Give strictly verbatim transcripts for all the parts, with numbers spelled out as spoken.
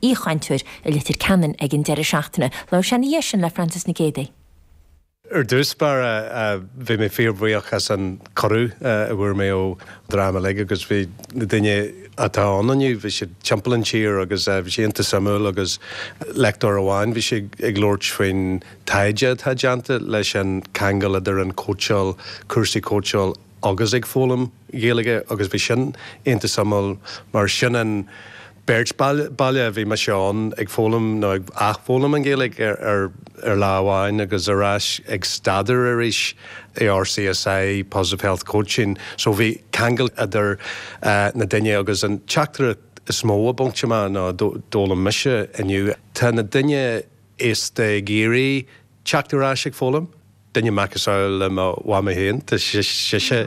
aoichainteoir i Leitir Ceanainn ag an deireadh seachtaine. Labhair sé ina dhiaidh sin le Francis Nic Géadaigh. Ar dtús báire bhí mé fíorbhuíoch as an cuireadh a bhfuair mé ó dream uilig agus bhí na daoine atá ann inniu, bhí siad timpeall an tír agus bhí sé iontach suimiúil agus lectóir amháin bhí sé ag labhairt faoin taighde atá déanta leis an ceangal idir an cóitseáil, cúrsaí cóitseáil agus ag foghlaim Gaeilge agus bhí sin iontach suimiúil mar sin an beirt baile a bhí mise ann ag foghlaim nó ag athfhoghlaim an Ghaeilge ar, ar, ar lá amháin agus ar ais ag staidéar arís i RCSI Positive Health Coaching, so bhí ceangal idir uh, na daoine agus an teachtaireacht is mó a bhain amach ná d'fhoghlaim mise inniu. Tá na daoine aosta ag iarraidh teacht ar ais ag foghlaim. Duine macasamhail le mo mhamaí féin Tá sise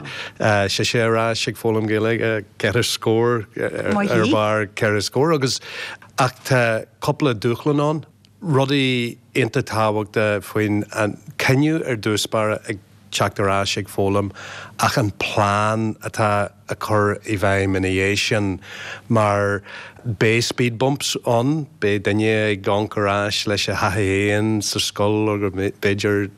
sise ar ais ag foghlaim Gaeilge ceithre scór ar barr ceithre scór agus ach tá cúpla dúshlán ann, rudaí iontach tábhachtach faoin an cinneadh ar dtús báire ag teacht ar ais ag foghlaim ach an plean atá a chur i bhfeidhm ina dhiaidh sin mar beidh speed bumps ann, beidh duine ag amharc ar ais leis a thaithí féin sa scoil agus b'fhéidir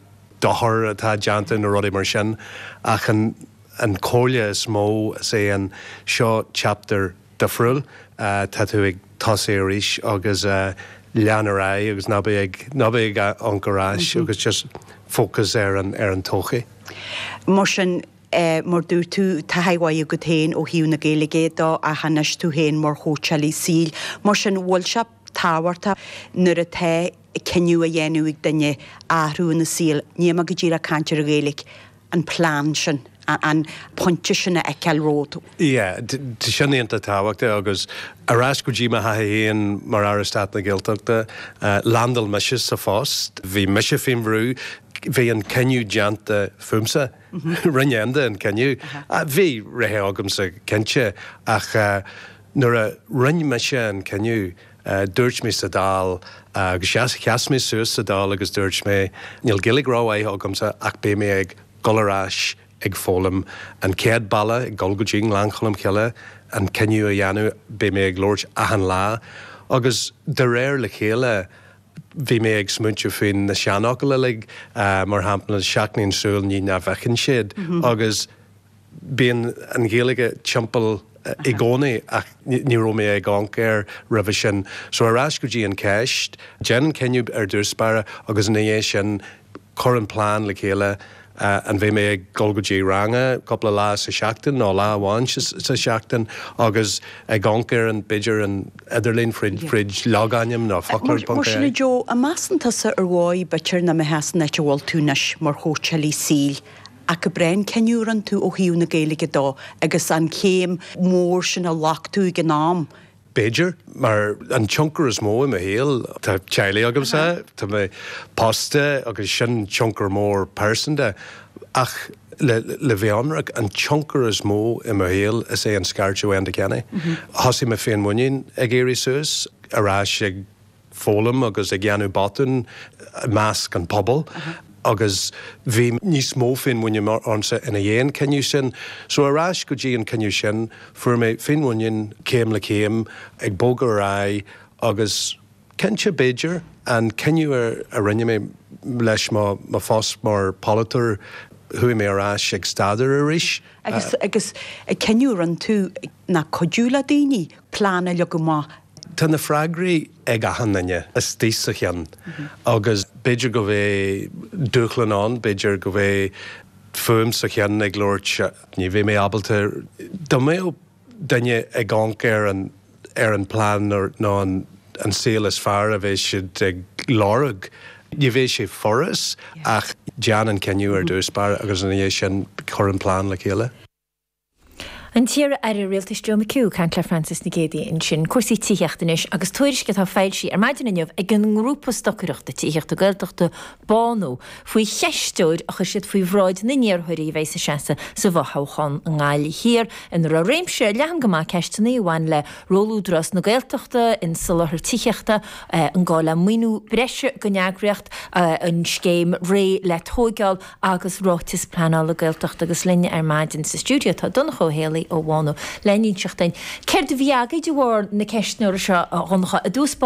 dochar atá déanta na rudaí mar sin ach an an chomhairle is mó is é an seo chapter difriúil uh, tá tú ag tosú arís agus uh, lean ar aghaidh agus ná bí ag ná bí ag amharc ar ais mm -hmm. agus just focus ar an ar an todhchaí. Mar sin eh, mar dúirt tú taithí agat féin ó thaobh na Gaeilge de ach anois tú féin mar chóitseálaí saoil, mar sin bhfuil sé tábhachtach nuair atá cinneadh a dhéanamh ag duine athrú ina saol, ní go díreach caint ar Ghaeilge an plean sin an pointe sin a fheiceáil romhat. Yeah, sin iontach tábhachtach agus ar ais go dtí mo thaithí féin mar Aire Stáit na Gaeltachta, landáil mise sa phost, bhí mise faoin bhrú, bhí an cinneadh déanta fúmsa. Rinne Enda an cinneadh. Bhí rogha agamsa cinnte ach nuair a rinne mise an cinneadh, dúirt mé sa Dáil agus sheas mé suas sa Dáil agus dúirt mé níl Gaeilge rómhaith agamsa ach beidh mé ag dul ar ais ag foghlaim an chéad bhealach ag dul go dtí Gleann Cholm Cille an cinneadh a dhéanamh beidh mé ag labhairt achan lá agus de réir le chéile bhí mé ag smaointiú faoin na seanfhocail uilig mar shampla seachnaíonn súil ní nach bhfeiceann siad agus bíonn an Ghaeilge timpeall i gcónaí ach ní raibh mé ag amharc air roimhe sin. So ar ais go dtí an ceist, déan an cinneadh ar dtús báire agus ina dhiaidh sin cuir an plean le chéile uh, an bheidh mé ag dul go dtí ranga cúpla lá sa seachtain nó lá amháin sa seachtain agus ag amharc ar an b'fhéidir an idirlíon fríd fríd logainm nó foclóir Mar sin Joe, an measann tusa ar mhaith b'fhéidir nach mbeifeá san áit a bhfuil tú anois mar chóitseálaí saoil ach go brein cinneadh tú ó thaobh na Gaeilge de agus an chéim mór sin a ghlac tú ag an am. B'fhéidir mar an tionchar is mó i mo shaol Tá teaghlach agamsa Tá mé pósta agus sin tionchar mór pearsanta ach le, le bheith ionraic an tionchar is mó i mo shaol is é an scairteadh ó Enda Kenny. Thosaigh mé féinmhuinín ag éirí suas ar ais ag foghlaim agus ag déanamh botún i measc an pobal. agus bhí níos mó féinmhuinín ionamsa ina dhiaidh an cinneadh sin. So ar ais go dtí an cinneadh sin fuair mé féinmhuinín céim le céim ag bogadh ar aghaidh agus cinnte b'fhéidir an cinneadh a rinne mé leis mo mo phost mar pholaiteoir chuaigh mé ar ais ag staidéar arís. Agus agus ag cinneadh rinne tú ná cuidiú le daoine plean a leagan amach. Tá na freagraí ag achan duine istigh sa cheann agus b'fhéidir go bheith dúshlán ann, b'fhéidir go bheith fuaim sa cheann ag labhairt ní bheidh mé ábalta dá mbeadh duine ag amharc ar an ar an plean nó an an saol is fearr a bheidh siad ag lorg. Ní bheidh sé furast ach déan an cinneadh ar dtús báire agus ina dhiaidh sin cuir an plean le chéile. An t-iar-aire rialtais Joe McHugh caint le Francis Nic Géadaigh ansin cúrsaí tithíochta anois agus tuairisc atá foilsithe ar maidin inniu ag an ngrúpa stocaireachta tithíochta Gaeltachta Bánú faoi cheisteoir a chuir siad faoi bhráid na n-iarrthóirí a bheidh ag seasamh sa bhfothoghchán i nGaillimh Thiar ina raibh réimse leathan go maith ceisteanna a bhain le ról Údarás na Gaeltachta in soláthar tithíochta an gá le maoiniú breise don eagraíocht an scéim Réidh le Tógáil agus ráiteas pleanála Gaeltachta agus linn ar maidin sa stiúideo tá Donncha Ó Héalaí Kelly ó Bhánú le n-inseacht dúinn. Céard a bhí agaibh de bharr na ceistneora seo a Dhonncha i dtús báire?